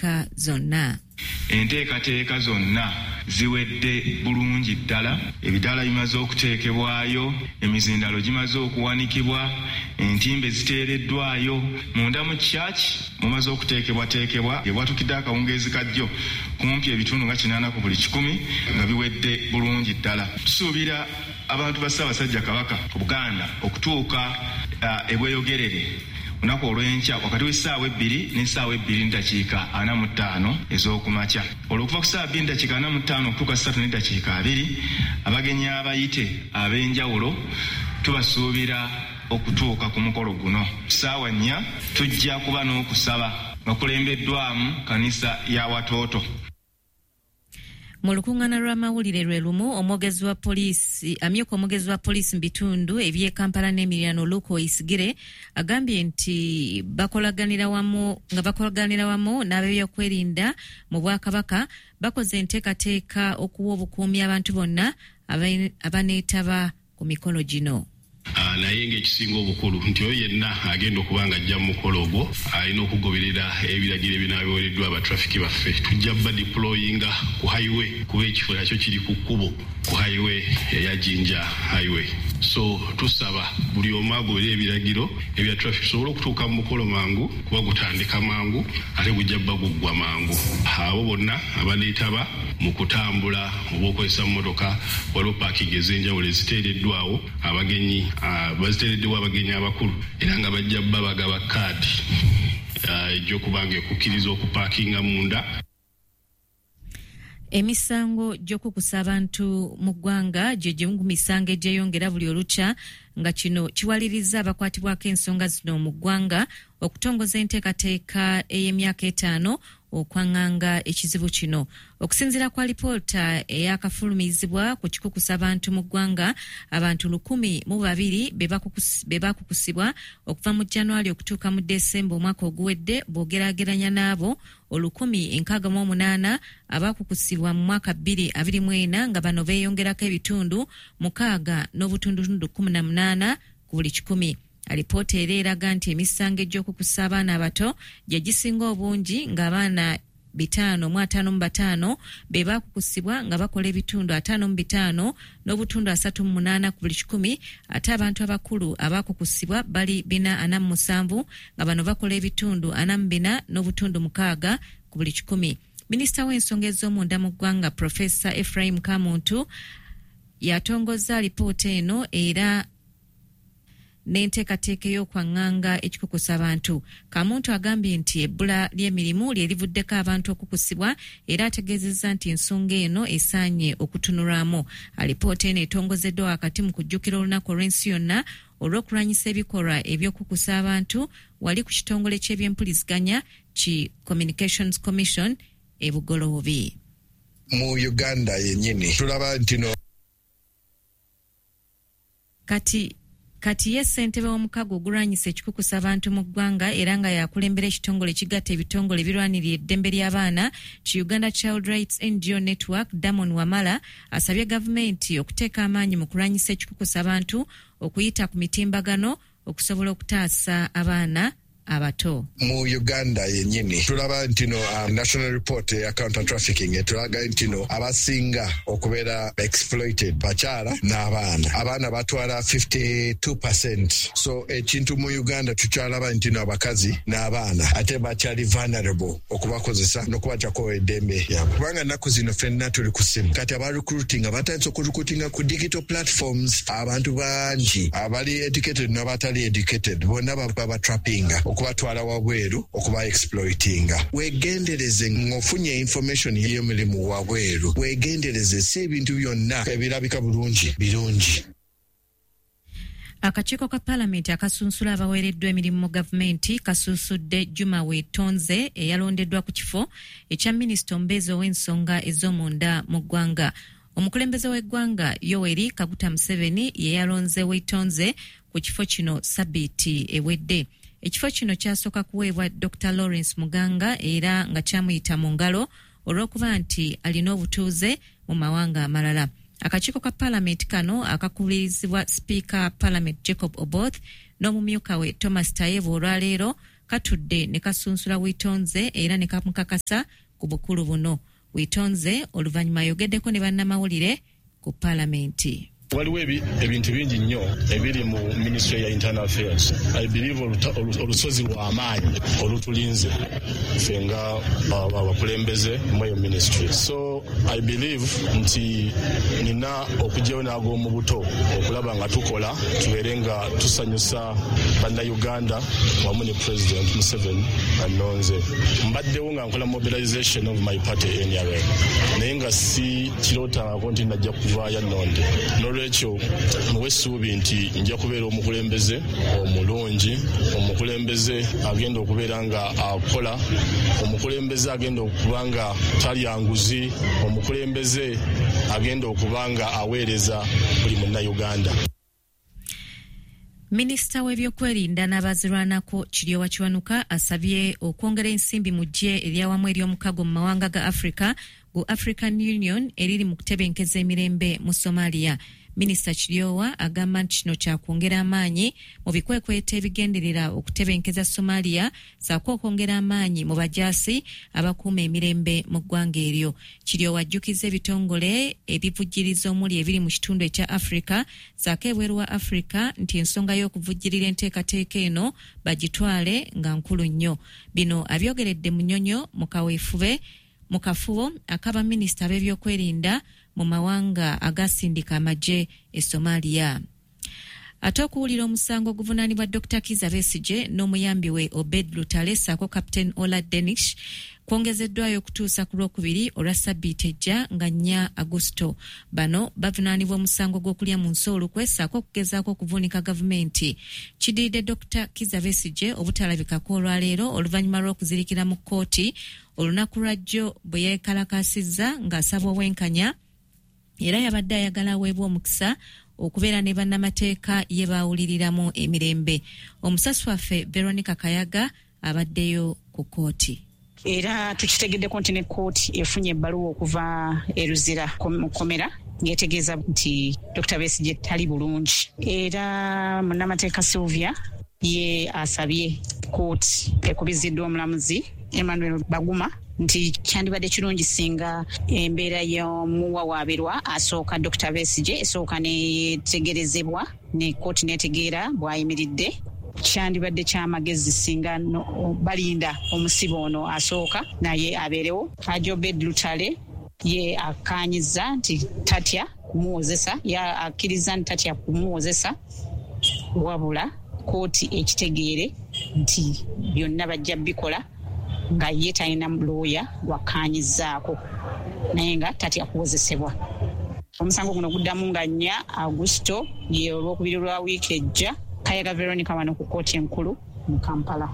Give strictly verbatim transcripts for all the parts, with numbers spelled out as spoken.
Enteekateeka zonna Enteekateeka zonna ziwedde bulungi ddala. Ebidaala bimaze okuteekebwayo, emizindalo gimaze okuwanikibwa, entimbe ziteereddwayo munda mu church, mumaze okuteekebwateekebwa. Ebwatukidde akawungeezi kajjo kumpi ebitundu nga kinaana ku buli kikumi nga biwedde bulungi ddala. Tusuubira abantu ba Ssaabasajja Kabaka Buganda okutuuka uh, ebweyogerere olunaku olw'enkya wakati w'essaawa ebbiri n'essaawa ebbiri n'eddakiika ana mu ttaano ez'okumakya. Olwo okuva ku ssaawa bbiri n'eddakiika ana mu ttaano okutuuka ssatu n'eddakiika abiri, abagenyi abayite ab'enjawulo tubasuubira okutuuka ku mukolo guno. Ssaawa nnya tujja kuba n'okusaba nga kulembeddwamu kanisa ya Watoto. Mu lukuŋŋaana lw'amawulire lwe lumu, omwogezi wa poliisi amyuka omwogezi wa poliisi mu bitundu eby'e Kampala n'emiriraano, Luke Oyisigire, agambye nti bakolaganira wamu nga bakolaganira wamu n'ab'ebyokwerinda mu Bwakabaka bakoze enteekateeka okuwa obukuumi abantu bonna abaneetaba ku mikolo gino. Uh, naye ng'ekisinga obukulu nti oyo yenna agenda okuba nga ajja mu mukolo ogwo alina okugoberera ebiragiro ebinaabiweereddwa abatrafiki baffe. Tujja ba deployinga ku highway, kuba ekifo nakyo kiri ku kkubo ku highway eya Jinja Highway. So tusaba buli omu agoberere ebiragiro ebya traffic tusobole okutuuka mu mukolo mangu, kuba gutandika mangu ate gujja bba guggwa mangu. Abo bonna abaneetaba mu kutambula oba okukozesa mmotoka, waliwo parking ez'enjawulo eziteereddwawo abagenyi, uh, baziteereddewo abagenyi abakulu, era nga bajja bba bagaba kaadi ejja okuba nga ekukkiriza okupaakinga munda. Emisango gy'okukusa abantu mu ggwanga gye gimu ku misango egyeyongera buli olukya, nga kino kiwaliriza abakwatibwako ensonga zino mu ggwanga okutongoza enteekateeka ey'emyaka etaano okwaŋŋanga ekizibu kino. Okusinziira ku alipoota eyakafulumizibwa ku kikukusa abantu mu ggwanga, abantu lukumi mu babiri be bakukusibwa okuva mu January okutuuka mu Desemba omwaka oguwedde, bw'ogeraageranya n'abo olukumi enkaaga mu omunaana abakukusibwa mu mwaka bbiri abiri mu ena, nga bano beeyongerako ebitundu mukaaga n'obutundutundu kkumi na munaana ku buli kikumi. Alipoota era eraga nti emisango egy'okukusa abaana abato gye gisinga obungi, ng'abaana bitaano mu ataano mu bataano be baakukusibwa nga bakola ebitundu ataano mu bitaano n'obutundu asatu mu munaana ku buli kikumi, ate abantu abakulu abaakukusibwa bali bina ana mu musanvu nga bano bakola ebitundu ana mu bina n'obutundu mukaaga ku buli kikumi. Minisita w'ensonga ez'omunda mu ggwanga, Profesa Ephraim Kamuntu, yatongozza alipoota eno era n'enteekateeka ey'okwaŋŋanga ekikukusa abantu. Kamuntu agambye nti ebbula ly'emirimu lye livuddeko abantu okukusibwa, era ategeezezza nti ensonga eno esaanye okutunulwamu. Alipoota eno etongozeddwa wakati mu kujjukira olunaku olw'ensi yonna olw'okulwanyisa ebikolwa eby'okukusa abantu wali ku kitongole ky'ebyempuliziganya ki Communications Commission e Bugoloobi. Mu Uganda yennyini tulaba nti no Kati Kati ye ssentebe w'omukago ogulwanyisa ekikukusa abantu mu ggwanga era nga yakulembera ekitongole ekigatta ebitongole ebirwanirira eddembe ly'abaana ki Uganda Child Rights N G O Network, Damon Wamala, asabye gavumenti okuteeka amaanyi mu kulwanyisa ekikukusa abantu okuyita ku mitimbagano okusobola okutaasa abaana abato. Mu Uganda yennyini tulaba nti no uh, national report ya counter trafficking etulaga nti no abasinga okubeera exploited bakyala n'abaana. Abaana batwala fifty-two percent. So ekintu mu Uganda tukyalaba nti no abakazi n'abaana ate bakyali vulnerable okubakozesa n'okubajjako eddembe lyabwe, kubanga ennaku zino ffenna tuli ku ssimu. Kati aba recruiting batandise okurecruitinga ku digital platforms. Abantu bangi abali educated n'abatali educated bonna babatrappinga okubatwala wabweru okuba exploitinga. Weegendereze ng'ofunye information y'emirimu wabweru, weegendereze, si ebintu byonna ebirabika bulungi birungi. Akakiiko ka Paalamenti akasunsula abaweereddwa emirimu mu gavumenti kasunsudde Juma Weetonze eyalondeddwa ku kifo ekya minisita omubeezi ow'ensonga ez'omunda mu ggwanga. Omukulembeze w'eggwanga Yoweri Kaguta Museveni ye yalonze Weetonze ku kifo kino sabbiiti ewedde. Ekifo kino kyasooka kuweebwa Doctor Lawrence Muganga era nga kyamuyita mu ngalo olw'okuba nti alina obutuuze mu mawanga amalala. Akakiiko ka Paalamenti kano akakubirizibwa Sipiika Paalamenti Jacob Oboth n'omumyuka we Thomas Tayebwa olwaleero Katudde ne kasunsula Witonze era ne kamukakasa ku bukulu buno. Witonze oluvannyuma ayogeddeko ne bannamawulire ku paalamenti. Waliwo ebintu bingi nnyo ebiri mu Ministry ya Internal Affairs. I believe olusozi lw'amaanyi olutulinze ffe nga abakulembeze mu eyo ministry. So I believe nti nina okugyayo n'ag'omu buto okulaba nga tukola tubeere nga tusanyusa bannayuganda wamu ne President Museveni annonze. Mbaddewo nga nkola mobilization of my party N R M, naye nga si kirootangako nti najja kuvaayo annonde. N'olwekyo muwe essuubi nti nja kubeera omukulembeze omulungi, omukulembeze agenda okubeera nga akola, omukulembeze agenda okuba nga talya nguzi, omukulembeze agenda okuba nga aweereza buli munnayuganda. Minisita w'ebyokwerinda n'abazirwanako Kiryowa Kiwanuka asabye okwongera ensimbi mu ggye eryawamu ery'omukago mu mawanga ga Africa gu African Union eriri mu kutebenkeza emirembe mu Somalia. Minisita Kiryowa agamba nti kino kyakwongera amaanyi mu bikwekweto ebigenderera okutebenkeza Somalia ssaako okwongera amaanyi mu bajaasi abakuuma emirembe mu ggwanga eryo. Kiryowa ajjukiza ebitongole ebivujjiriza omuli ebiri mu kitundu ekya Africa ssaako ebweru wa Africa nti ensonga y'okuvujjirira enteekateeka eno bagitwale nga nkulu nnyo. Bino abyogeredde Munyonyo mu kaweefube mu kafubo akaba minisita b'ebyokwerinda mu mawanga agasindika amagye e Somalia. Ate okuwulira omusango oguvunaanibwa Dokita Kizza Besigye n'omuyambi we Obed Lutale ssaako Captain Ola Denish kwongezeddwayo okutuusa ku Lwokubiri olwa ssabbiiti ejja nga nnya Agusto. Bano bavunaanibwa omusango gw'okulya mu nsi olukwe ssaako okugezaako okuvuunika gavumenti. Kidiridde Dokita Kizza Besigye obutalabikako olwaleero oluvannyuma lw'okuzirikira mu kkooti olunaku lwajjo bwe yeekalakaasizza ng'asaba obwenkanya, era yabadde ayagala aweebwa omukisa okubeera ne bannamateeka ye baawuliriramu emirembe. Omusasi waffe Veronica Kayaga abaddeyo ku kkooti. Era tukitegeddeko nti ne kkooti efunye ebbaluwa okuva e Luzira mu kkomera ng'etegeeza nti Dokita Besigye tali bulungi. Era munnamateeka Sylvia ye asabye kkooti ekubiziddwa omulamuzi Emmanuel Baguma nti kyandibadde kirungi singa embeera y'omuwawaabirwa asooka Dokita Besigye esooka neetegerezebwa ne kkooti n'etegeera bw'ayimiridde. Kyandibadde kyamagezi singa no, balinda omusibe ono asooka naye abeerewo. Haji Obed Lutale ye akkaanyizza nti tatya kumuwozesa, ye akkiriza nti tatya kumuwozesa, wabula kkooti ekitegeere nti byonna bajja bikola nga ye talina looya gwakkaanyizzaako naye nga tatya kuwozesebwa. Omusango guno guddamu nga nnya Agusto ye olwokubiri lwa wiiki ejja. Kayaga Veronica wano ku kkooti enkulu mu Kampala.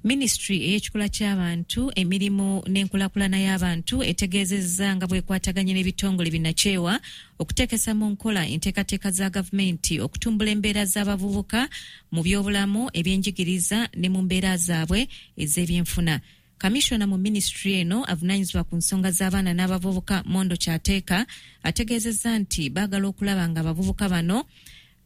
Minisitule ey'ekikula ky'abantu, emirimu n'enkulaakulana y'abantu etegeezezza nga bw'ekwataganye n'ebitongole binnakyewa okuteekesa mu nkola enteekateeka za gavumenti okutumbula embeera z'abavubuka mu byobulamu, ebyenjigiriza ne mu mbeera zaabwe ez'ebyenfuna. Kamishona mu minisitule eno avunaanyizibwa ku nsonga z'abaana n'abavubuka Mondo Kyateeka ategeezezza nti baagala okulaba nga abavubuka bano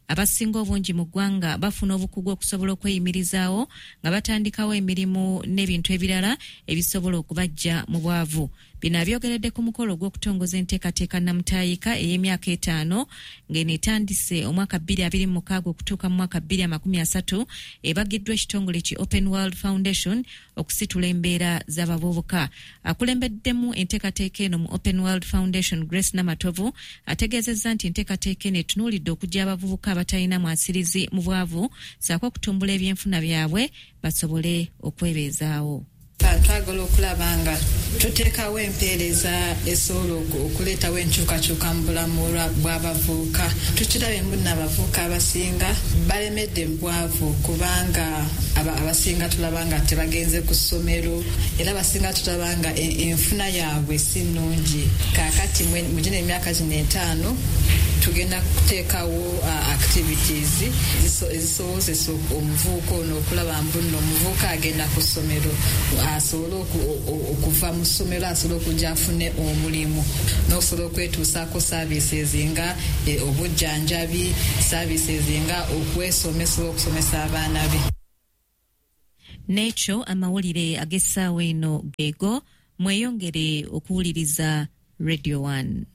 abasinga obungi mu ggwanga bafuna obukugu okusobola okweyimirizaawo nga batandikawo emirimu n'ebintu ebirala ebisobola okubaggya mu bwavu. Bino abyogeredde ku mukolo ogw'okutongoza enteekateeka Namutaayika ey'emyaka etaano ng'eno etandise omwaka bbiri abiri mu mukaaga okutuuka mu mwaka bbiri amakumi asatu, ebagiddwa ekitongole ki Open World Foundation okusitula embeera z'abavubuka. Akulembeddemu enteekateeka eno mu Open World Foundation Grace Namatovu ategeezezza nti enteekateeka eno etunuulidde okuggya abavubuka abatalina mwasirizi mu bwavu ssaako okutumbula ebyenfuna byabwe basobole okwebeezaawo. Twagala okulaba nga tuteekawo empeereza esobola okuleetawo enkyukakyuka mu bulamu bw'abavubuka. Tukirabye mbu abavubuka abasinga balemedde mu bwavu kubanga abasinga tulaba nga tebagenze ku ssomero, era abasinga tulaba nga enfuna yaabwe si nnungi. Kaakati mu gino emyaka gino etaano tugenda kuteekawo activities ezisobozesa omuvubuka ono okulaba mbu nno omuvubuka agenda ku ssomero asobole okuva mu ssomero, asobole okujja afune omulimu n'okusobola okwetuusaako services nga obujjanjabi, services nga okwesomesa okusomesa abaana be. N'ekyo amawulire ag'essaawa eno geego. Mweyongere okuwuliriza Radio one.